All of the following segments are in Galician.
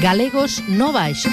Galegos no Baixo.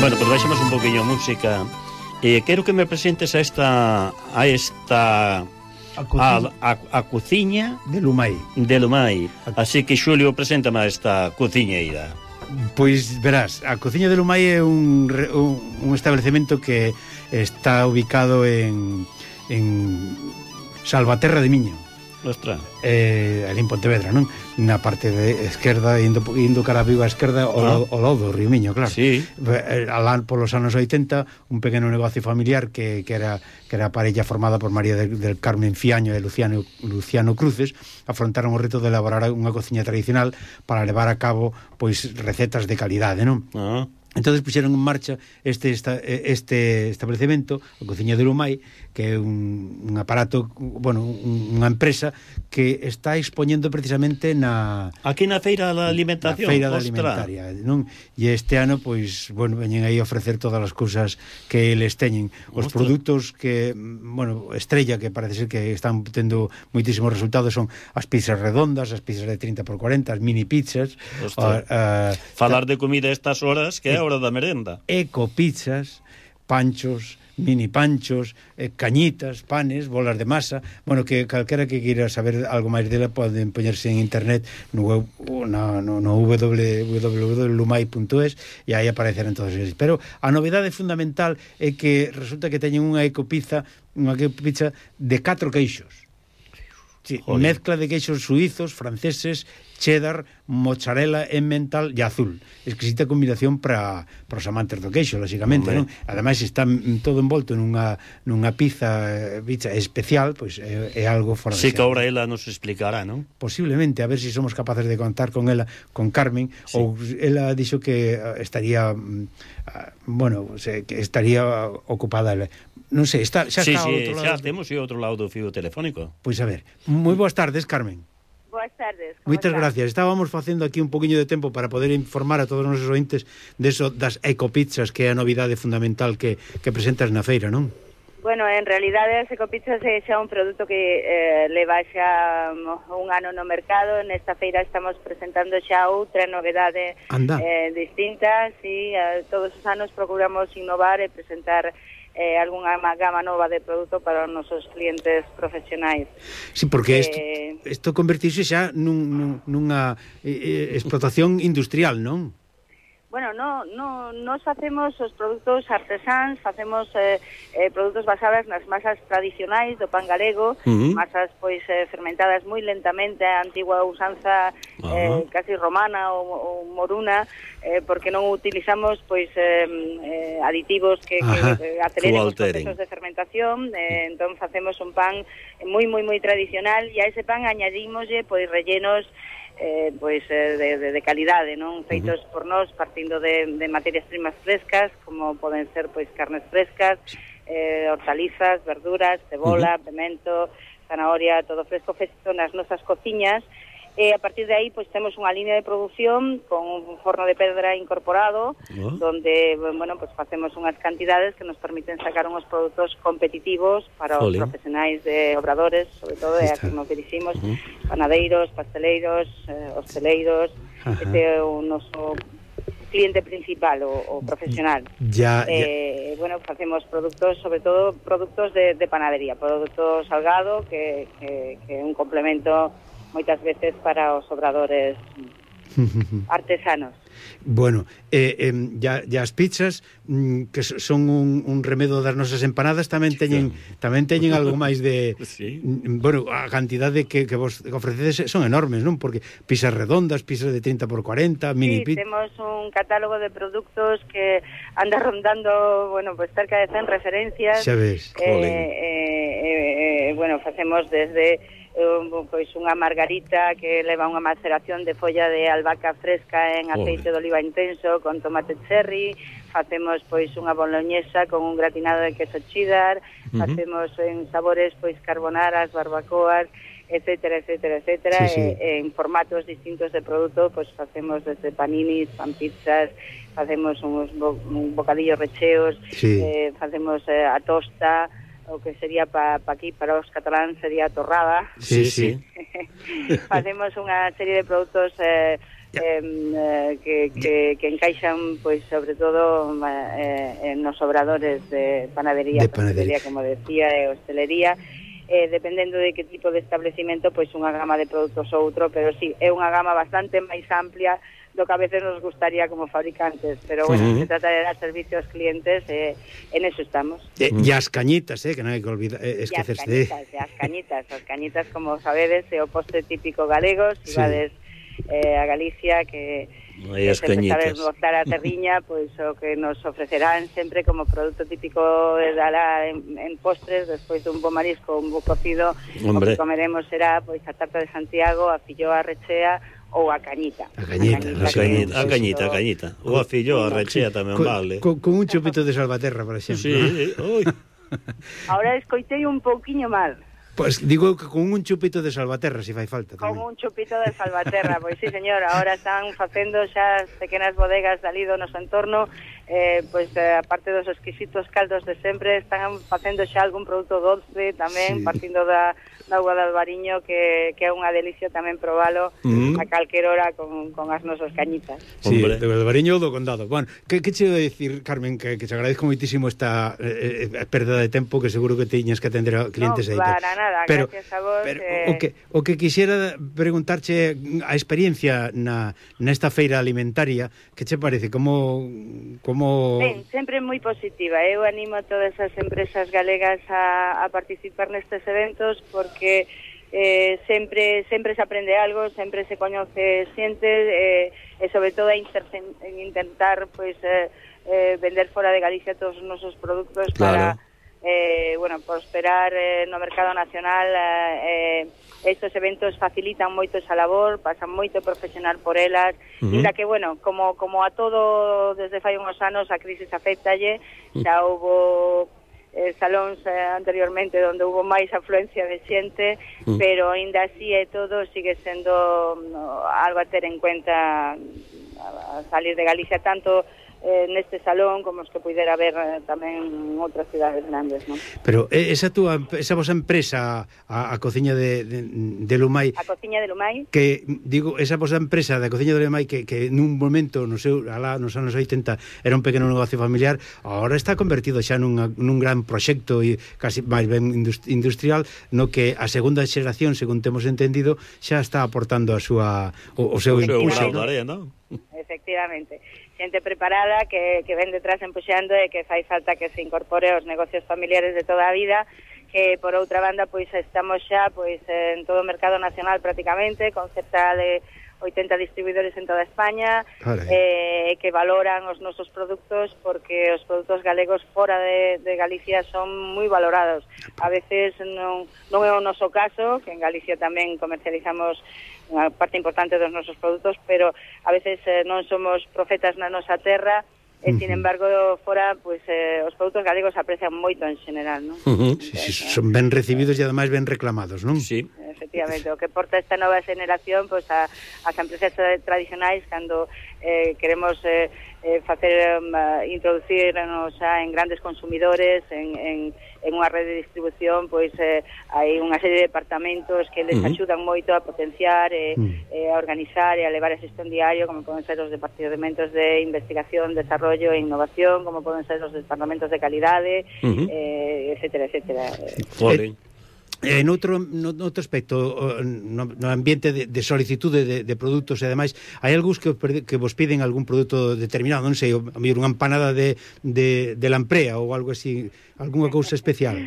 Bueno, pues baixamos un poquinho a música. Quero que me presentes a cociña de Lumai. Así que Xulio, preséntame a esta cociñeira. Pois verás, a cociña de Lumai é un establecemento que está ubicado en Salvaterra de Miño. Ostras. Ali en Pontevedra, non? Na parte de esquerda, indo cara a Vigo a esquerda, ao lado do Río Miño, claro. Sí. Alá polos anos 80, un pequeno negocio familiar que era a parella formada por María del Carmen Fiaño e Luciano Cruces, afrontaron o reto de elaborar unha cociña tradicional para levar a cabo pois recetas de calidade, non? Entonces puxeron en marcha este establecemento, a Cociña de Lumai, que é un aparato, bueno, unha empresa que está expoñendo precisamente aquí na Feira da Alimentación. Na Feira da Alimentaria, non? E este ano, pois, bueno, veñen aí a ofrecer todas as cousas que eles teñen. Os produtos que, bueno, estrella, que parece ser que están tendo moitísimos resultados, son as pizzas redondas, as pizzas de 30x40, as mini pizzas. Falar de comida a estas horas, que é a hora da merenda. Ecopizzas, panchos, mini panchos, cañitas, panes, bolas de masa. Bueno, que calquera que queira saber algo máis dela poden poñerse en internet no www.lumai.es e aí aparecerán todos eles. Pero a novidade fundamental é que resulta que teñen unha ecopizza de 4 queixos. Sí, mezcla de queixos suizos, franceses, cheddar, mozzarella, emmental e azul. Exquisita combinación para os amantes do queixo, lógicamente, non? Ademais está todo envolto nunha pizza especial, pois é algo fora de sí, que ahora ela nos explicará, non? Posiblemente, a ver se somos capaces de contar con ela, con Carmen, sí. Ou ela dixo que estaría que estaría ocupada ela. Non sei, xa está ao outro lado. Xa temos outro lado do fío telefónico. Pois a ver, moi boas tardes, Carmen. Boas tardes. Moitas gracias. Estábamos facendo aquí un poquinho de tempo para poder informar a todos os nosos ointes das ecopizzas, que é a novidade fundamental que presentas na feira, non? Bueno, en realidade as ecopizzas é xa un produto que leva xa un ano no mercado. Nesta feira estamos presentando xa outra novedade distinta. Sí, todos os anos procuramos innovar e presentar algunha gama nova de produto para os nosos clientes profesionais. Sí, porque isto convertirse xa nunha explotación industrial, non? Bueno, nos facemos os produtos artesáns, facemos produtos basados nas masas tradicionais do pan galego, masas pois fermentadas moi lentamente, a antigua usanza casi romana ou moruna, porque non utilizamos pois aditivos que aceleren os procesos de fermentación. Entón facemos un pan moi tradicional e a ese pan añadímoslle pois rellenos de calidade, non? Feitos por nós, partindo de materias primas frescas, como poden ser pois carnes frescas, hortalizas, verduras, cebola, pemento, zanahoria, todo fresco feito nas nosas cociñas, E a partir de aí, pois temos unha línea de produción con un forno de pedra incorporado, donde, bueno, pues facemos unhas cantidades que nos permiten sacar uns produtos competitivos para os profesionais de obradores, sobre todo, e a que nos diriximos, panadeiros, pasteleiros, hosteleiros, este é o noso cliente principal o profesional. Bueno, facemos produtos, sobre todo produtos de panadería, produto salgado que é un complemento moitas veces para os obradores artesanos. Bueno, as pizzas que son un remedo das nosas empanadas tamén teñen algo máis de bueno, a cantidade que vos ofrecedes son enormes, non? Porque pizzas redondas, pizzas de 30 por 40, mini pizza. Temos un catálogo de productos que anda rondando, bueno, pues cerca de 100 referencias. Xa ves. Bueno, facemos desde pois unha margarita que leva unha maceración de folla de albahaca fresca en aceite de oliva intenso con tomate cherry, facemos pois unha boloñesa con un gratinado de queso cheddar, facemos en sabores pois carbonaras, barbacoas, etcétera, en formatos distintos de produto, pois facemos desde paninis, pan pizzas, facemos uns bocadillos recheos, facemos a tosta, o que sería aquí para os cataláns sería torrada. Facemos unha serie de produtos que encaixan, pois, sobre todo nos obradores de panadería, como decía, e hostelería, dependendo de que tipo de establecimento, pois unha gama de produtos ou outro, pero sí, é unha gama bastante máis amplia do que a veces nos gustaría como fabricantes, pero bueno, se trata de dar servicio aos clientes, en eso estamos. E as cañitas, que non hai que olvidar, esquecerse de... As cañitas, como sabedes, é o postre típico galego, se vades a Galicia, que se sabes gozar a terriña, pois o que nos ofrecerán sempre como produto típico de Dala en postres, despois dun bo marisco, un bo cocido, o que comeremos será pois a tarta de Santiago, a filloa rechea, ou a cañita. A cañita. Ou a filloa rechea tamén vale. Con un chupito de Salvaterra, por exemplo. Ahora escoitei un pouquiño mal. Pois digo que con un chupito de Salvaterra, se fai falta tamén. Con un chupito de Salvaterra, pois sí, señor, ahora están facendo xa as pequenas bodegas dali do noso entorno, pois aparte dos exquisitos caldos de sempre, están facendo xa algún produto doce tamén, partindo da auga de Albariño, que é unha delicia tamén probalo a calquer hora con as nosas cañitas. Sí, do Albariño ou do Condado. Bueno, que che iba a dicir, Carmen, que te agradezco moitísimo esta perda de tempo, que seguro que tiñas que atender a clientes aí. Non, para nada, gracias a vos. Pero o que quixera preguntarche a experiencia nesta feira alimentaria, que che parece? Como... Ben, sempre moi positiva. Eu animo a todas as empresas galegas a participar nestes eventos, porque sempre se aprende algo, sempre se coñece xente, e sobre todo a intentar pois vender fora de Galicia todos os nosos produtos para prosperar no mercado nacional. Estes eventos facilitan moito esa labor, pasan moito profesional por elas, inda que, bueno, como a todo desde fai uns anos a crisis afectalle, xa houbo salóns anteriormente onde hubo máis afluencia de xente, pero aínda así e todo sigue sendo algo a ter en cuenta a salir de Galicia, tanto neste salón como os que puidera haber tamén en outras cidades grandes, non? Pero esa vosa empresa, a cociña de Lumai, a cociña de Lumai, que digo, esa vosa empresa da cociña de Lumai que nun momento nos anos 80 era un pequeno negocio familiar, agora está convertido xa nun gran proxecto e casi máis ben industrial, no que a segunda xeración, según temos entendido, xa está aportando o seu impulso, non? Efectivamente, xente preparada que ven detrás empuxando e que fai falta que se incorpore aos negocios familiares de toda a vida, que por outra banda pois estamos xa pois en todo o mercado nacional prácticamente, con cerca de 80 distribuidores en toda España, que valoran os nosos produtos, porque os produtos galegos fora de Galicia son moi valorados. A veces non é o noso caso, que en Galicia tamén comercializamos unha parte importante dos nosos produtos, pero a veces non somos profetas na nosa terra, e, sin embargo, fora, pois, os produtos galegos aprecian moito en general, non? Sí, son ben recibidos e ademais ben reclamados, non? Sí. efectivamente. O que porta esta nova generación, pois as empresas tradicionais, cando queremos introducirnos en grandes consumidores, en unha rede de distribución, pois hai unha serie de departamentos que les axudan moito a potenciar a organizar e a levar a xestión diario, como poden ser os departamentos de investigación, desarrollo e innovación, como poden ser os departamentos de calidade, etcétera, etcétera. Noutro aspecto, no ambiente de solicitude de produtos e demais, hai algúns que vos piden algún produto determinado, non sei, unha empanada de lamprea ou algo así, algunha cousa especial.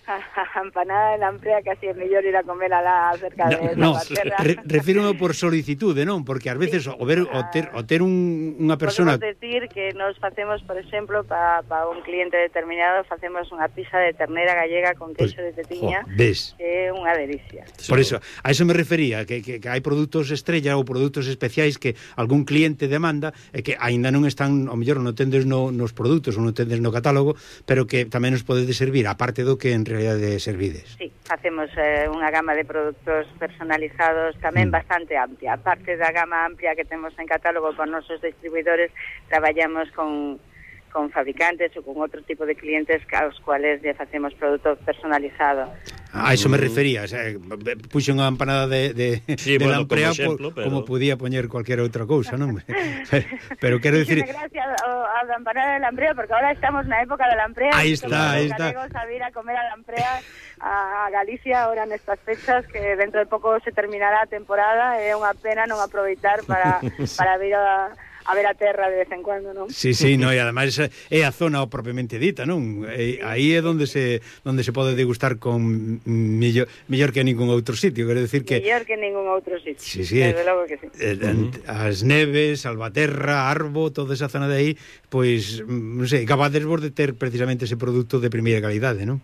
A empanada de lamprea casi é mellor ir a comer alá cerca de Salvaterra. Refírome por solicitude, non? Porque ás veces o ter unha persona... Podemos decir que nos facemos, por exemplo, para un cliente determinado, facemos unha pizza de ternera gallega con queixo de tetiña, que é unha delicia. Por eso, a eso me refería, que hai produtos estrella ou produtos especiais que algún cliente demanda e que aínda non están, ao mellor non tendes nos produtos ou non tendes no catálogo, pero que tamén nos podedes servir, aparte do que en realidade servides. Sí, facemos unha gama de produtos personalizados tamén bastante amplia. Aparte da gama amplia que temos en catálogo por nosos distribuidores, traballamos con fabricantes ou con outro tipo de clientes aos cuales lle facemos produto personalizado. A iso me refería, o sea, puxo unha empanada de lamprea como podía poñer cualquier outra cousa, non? Pero quero dicir... Gracias a la empanada de lamprea, porque ahora estamos na época de lamprea. Aí está. Galegos a vir a comer a lamprea a Galicia ahora nestas fechas, que dentro de pouco se terminará a temporada, é unha pena non aproveitar para vir a ver a terra de vez en cuando, non? Sí, no, e ademais é a zona propiamente dita, non? Aí é onde se pode degustar con mellor que ningún outro sitio, quero decir que... Mellor que ningún outro sitio, sí, desde logo que sí. As Neves, Salvaterra, Arbo, toda esa zona de aí, pois, non sei, capades vos de ter precisamente ese produto de primeira calidade, non?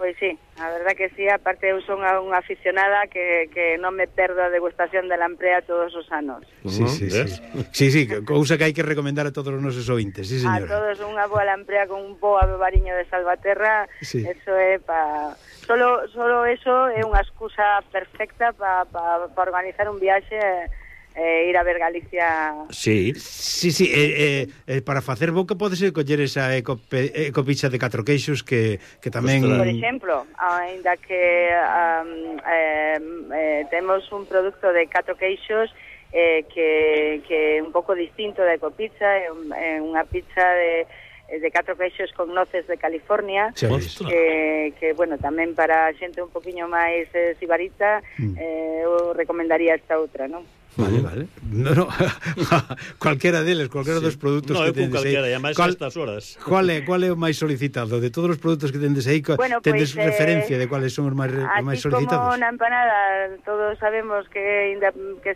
Pois sí, a verdad que sí, aparte eu son unha aficionada que non me perdo a degustación de lamprea todos os anos. Sí, cousa que hai que recomendar a todos os nosos ouvintes, sí, señora. A todos unha boa lamprea con un bo abobariño de Salvaterra, eso é para... Solo eso é unha excusa perfecta para organizar un viaxe ir a ver Galicia. Sí, para facer boca podese coller esa ecopizza de 4 queixos que tamén... Por exemplo, ainda que temos un produto de 4 queixos que é un pouco distinto da ecopizza, é unha pizza de 4 queixos con noces de California, que bueno, tamén para xente un poquinho máis sibarita, eu recomendaría esta outra, non? Vale. No, cualquera deles, cualquera dos produtos que tendes aí. E máis estas horas. Qual é o máis solicitado? De todos os produtos que tendes aí, tendes referencia de cuáles son os máis solicitados? Así como na empanada, todos sabemos que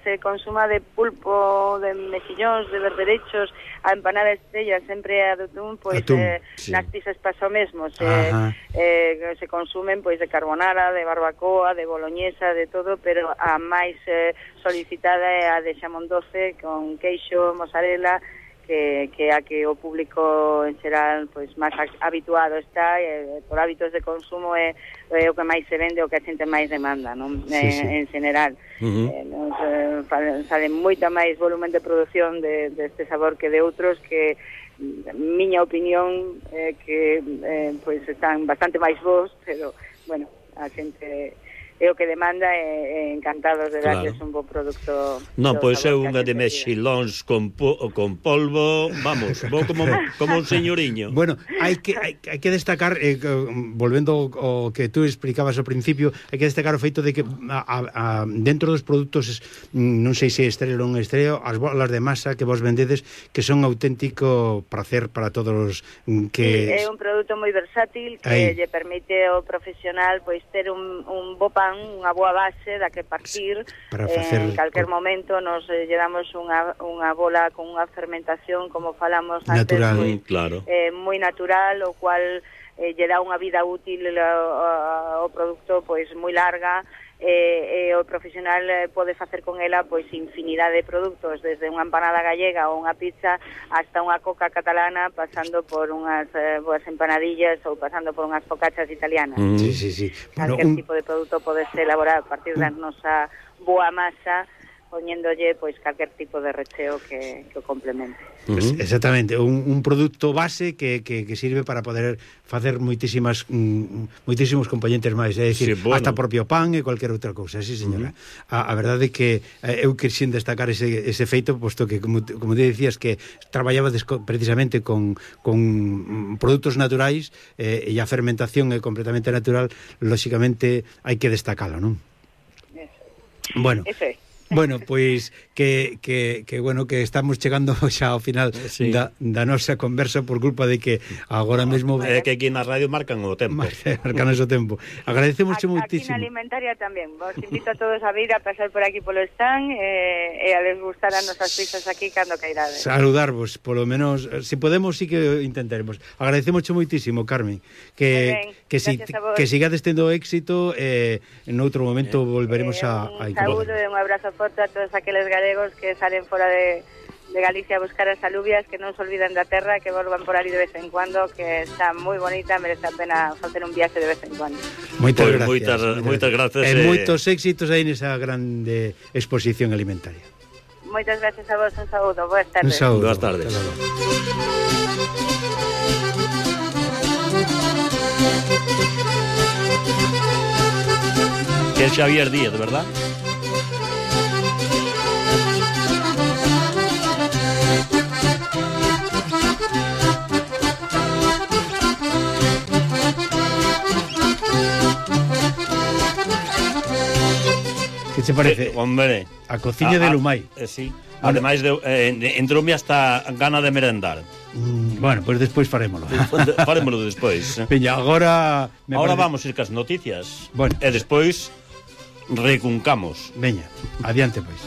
se consuma de pulpo, de mexillóns, de berberechos, a empanada estrella sempre é a de atún, pois nas pizzas pasa o mesmo, se consumen pois de carbonara, de barbacoa, de boloñesa, de todo, pero a máis solicitada é a de xamón doce con queixo, mozzarella, que a que o público en xeral pois máis habituado está, por hábitos de consumo é o que máis se vende, o que a xente máis demanda, non? En general. Sale moita máis volumen de produción deste sabor que de outros que, miña opinión, que pois están bastante máis bons, pero, bueno, a xente... é o que demanda e encantados de darles un bo produto. Non, pois é unha de mexilóns con polvo, vamos, vou como un señoriño. Bueno, hai que destacar, volvendo ao que tú explicabas ao principio, hai que destacar o feito de que dentro dos produtos, non sei se estrella ou non estrella, as bolas de masa que vos vendedes, que son auténtico placer para todos que... É un produto moi versátil que lle permite ao profesional pois ter un bo pan, unha boa base da que partir para facer, en calquer momento nos lle damos unha bola con unha fermentación, como falamos natural, antes, moi natural, o cual lle dá unha vida útil ao produto pois moi larga, e o profesional pode facer con ela pois infinidade de produtos, desde unha empanada gallega ou unha pizza hasta unha coca catalana, pasando por unhas boas empanadillas ou pasando por unhas focaccias italianas. Sí. Calquer tipo de produto podese elaborar a partir da nosa boa masa, poñéndolle pois calquer tipo de recheo que o complemente. Pues, exactamente, un produto base que sirve para poder facer moitísimos componentes máis, é dicir, hasta propio pan e cualquier outra cousa, sí señora. A verdade é que eu quixen destacar ese feito, posto que, como te decías, que traballabades precisamente con produtos naturais, e a fermentación é completamente natural, lóxicamente hai que destacalo, non? Bueno, eso é. Bueno, pois que estamos chegando xa ao final da nosa conversa por culpa de que agora mesmo é que aquí na radio marcan o tempo. Marcan o tempo. Agradecemos moitísimo. Aquí na Alimentaria tamén. Vos invito a todos a vir a pasar por aquí polo stand e a les gustar as nosas pizzas aquí cando cairades. Saludarvos, polo menos, se podemos sí que intentaremos. Agradecemos moitísimo, Carmen, que sigades tendo éxito, en outro momento volveremos a un saúdo e un abrazo forte a todos aqueles galegos que salen fora de Galicia a buscar as alubias, que non se olviden da terra, que volvan por ali de vez en cuando, que está moi bonita, merece a pena facer un viaxe de vez en cuando. Moitas gracias. Moitas gracias. E moitos éxitos aí nesa grande exposición alimentaria. Moitas gracias a vos, un saúdo, boas tardes. Un saúdo. Boas tardes. Que é Xavier Díaz, verdad? Que che parece? Hombre, a cociña de Lumai. Sí. Ademais, entroume hasta gana de merendar. Bueno, pois despois farémolo. Farémolo despois. Peña, agora vamos ir cas noticias. Bueno. E despois recuncamos. Veña, adiante pois.